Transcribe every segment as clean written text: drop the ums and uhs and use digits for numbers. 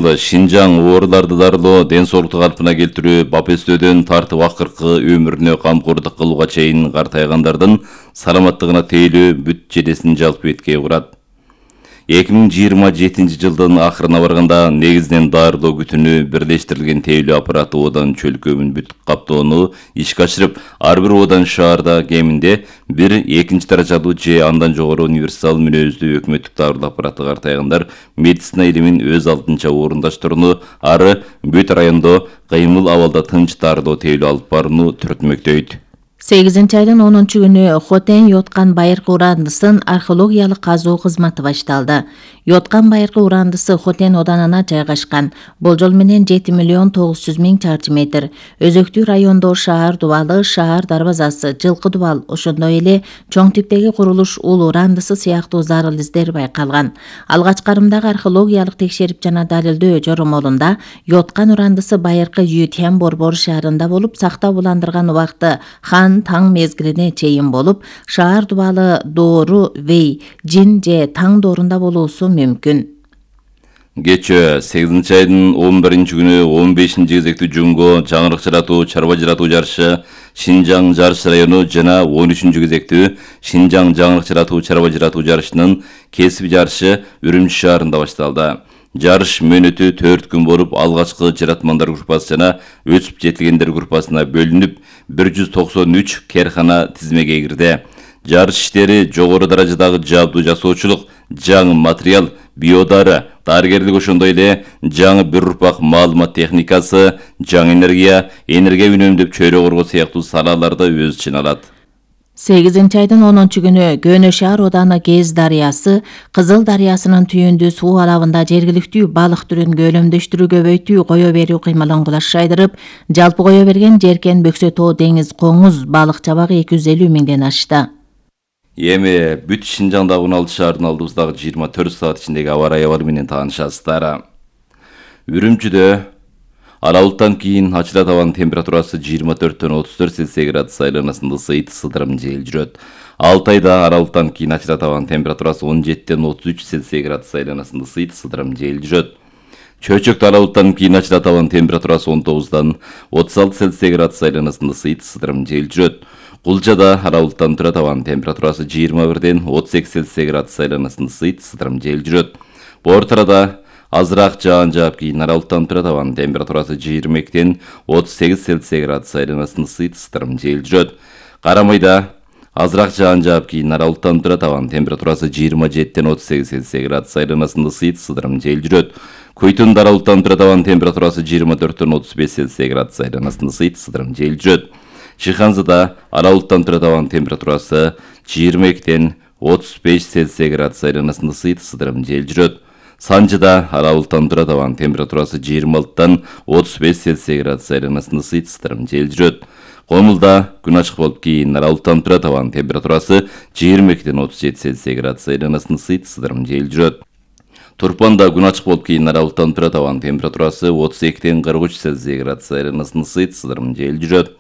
жылы Шинжаң ооруларды дарылоо, ден соолукту калпына келтирүү, бапестөөдөн тартып акыркы өмүрүнө камкордук кылууга чейин картайгандардын саламаттыгына тейлөө бүт жедесин жалпы эткей курат. 2027 жылдын акырына барганда негизинен дарылоо күтүнү бирлештирилген тейлөө аппараты одан чөлкөмүн бүт каптоону ишке ашырып, ар бир одан шаарда кеминде бир экинчи даражалуу же андан жогору универсал мүнөздүү өкмөттүк дарылоо аппараты картайгандар медицина илимин өз алдынча орундаштырууну, ары бүт райондо кыймыл абалда тынч дарылоо тейлөө алып барууну түрөтмөктөйт. 8-айдын 10-күнү Хотен Йоткан байыркы урандысын археологиялык казуу кызматы башталды. Йоткан байыркы урандысы Хотен оданына жайгашкан. Болжол менен 7.900.000 чарчы метр. Өзөктүү райондо шаар дубалы, шаар дарбазасы, жылкы дубал, ошондой эле чоң типтеги курулуш ул урандысы сыяктуу зарыл издер байкалган. Алгач карымдагы археологиялык текшерип жана далилдөө жоромолунда Йоткан урандысы байыркы Ютен Борбор шаарында болуп, сактап уландырган убакты таң мезгилине чейин болуп, шаар дубалы доору Вей, Жин же таң доорунда болуусу мүмкүн. Кечээ 8-айдын 11-күнү 15 кезектүү жумго жаңырык жаратуу, чарба жаратуу жарышы Шинжаң жарыш району жана 13 кезектүү Шинжаң жаңырык жаратуу, чарба жаратуу жарышынын кесип жарышы Үрүмчү шаарында башталды. Жарыш мөөнөтү 4 күн болуп, алгачкы жаратмандар группасы жана өсүп жетилгендер группасына бөлүнүп, 193 керкана тизмеге кирди. Жарыш иштери жогору даражадагы жабдуу жасоочулук, жаңы материал, биодары, дарыгерлик, ошондой эле жаңы бир урпак маалымат техникасы, жаңы энергия үнөмдөп чөйрө коргоо сыяктуу салаларды өз ичине алат. 8-айдын 10-күнү Көнө шаар ооданы Кез дарыясы Кызыл дарыясынын түйүндүү суу алабында жергиликтүү балык түрүн көлөмдөштүрүү, көбөйтүү, кое берүү кыймылын кулаш жайдырып, жалпы кое берген жеркен Бөксө тоо деңиз коңуз балык чабагы 250 миңден ашты. Эми бүт Шинжаңдагы 16 шаардын алдыбыздагы 24 саат ичиндеги аба ырайы менен таанышасыздар. Үрүмчүдө аралыктан кийин ачыла табан температурасы 24-34 Цельсий градус айланасында ысыйт, сыдырым жел жүрөт. Алтайда аралыктан кийин ачыла табан температурасы 17-33 Цельсий градус айланасында ысыйт, сыдырым жел жүрөт. Чөчөктө аралыктан кийин ачыла табан температурасы 19-36 Цельсий градус айланасында ысыйт, сыдырым жел жүрөт. Кулчада аралыктан тура табан температурасы 21-38 Цельсий градус айланасында ысыйт, сыдырым жел жүрөт. Бортарада азыраак жаан жаап, кийин аралыктан тура табан температурасы 22-38 Цельсий градус айланасында ысыйт, сыдырым жел жүрөт. Карамайда азыраак жаан жаап, кийин аралыктан тура табан температурасы 27-38 Цельсий градус айланасында ысыйт, сыдырым жел жүрөт. Көйтүндө аралыктан тура табан температурасы 24-35 Цельсий градус айланасында ысыйт, сыдырым жел жүрөт. Чыханзада аралыктан тура табан температурасы 22-35 Цельсий градус айланасында ысыйт, сыдырым жел жүрөт. Санжыда аралыктан тура табан температурасы 26-35 Цельсий градус айланасында ысыйт, сыдырым жел жүрөт. Комулда күн ачык болуп, кийин аралыктан тура табан температурасы 22-37 Цельсий градус айланасында ысыйт, сыдырым жел жүрөт. Турпанда күн ачык болуп, кийин аралыктан тура табан температурасы 32-43 Цельсий градус айланасында ысыйт, сыдырым жел жүрөт.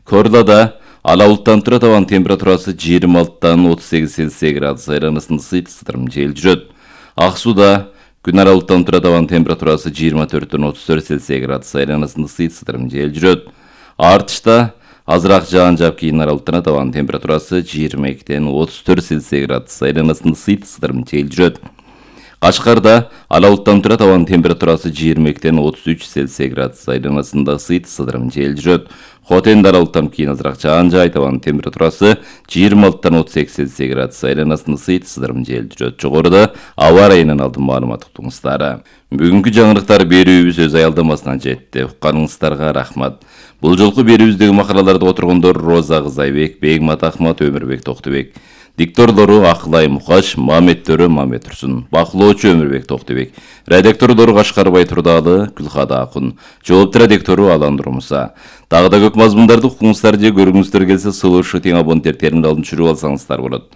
Корлада аралыктан тура табан температурасы 26-38 Цельсий градус айланасында ысыйт, сыдырым жел жүрөт. Аксуда күн аралыктан тура табан температурасы 24-34 Цельсий градус айланасында ысыйт, сыдырым жел жүрөт. Артышта азыраак жаан жаап, кийин аралыктан табан температурасы 22-34 Цельсий градус айланасында ысыйт, сыдырым жел жүрөт. Кашкарда аралыктан тура табан температурасы 22-33 Цельсий градус айланасында ысыйт, сыдырым жел жүрөт. Хотенде аралыктан кийин азыраак жаан жаап, табан температурасы 26-38 Цельсий градус айланасында ысыйт, сыдырым жел жүрөт. Жогоруда аба ырайынан алдын маалымат уктуңуздар. Бүгүнкү жаңырыктар берүүбүз өз аялдамасына жетти. Укканыңыздарга рахмат. Бул жолку берүүбүздөгү макалаларды отургондор Роза Кызайбек, Бегмат Ахмат, Өмүрбек Токтубек. Дикторлору Акылай Мукаш, Маметтөрү Мамет Турсун, бакылоочу Өмүрбек Токтубек, редактордору Кашкарбай Турдалы, Гүлхада Акун, жоопту редактору Алан Нурмуса. Дагы да көп мазмундарды укуңуздар же көргүңүздөр келсе, сулушу тең абоненттер терминалын түшүрүп алсаңыздар болот.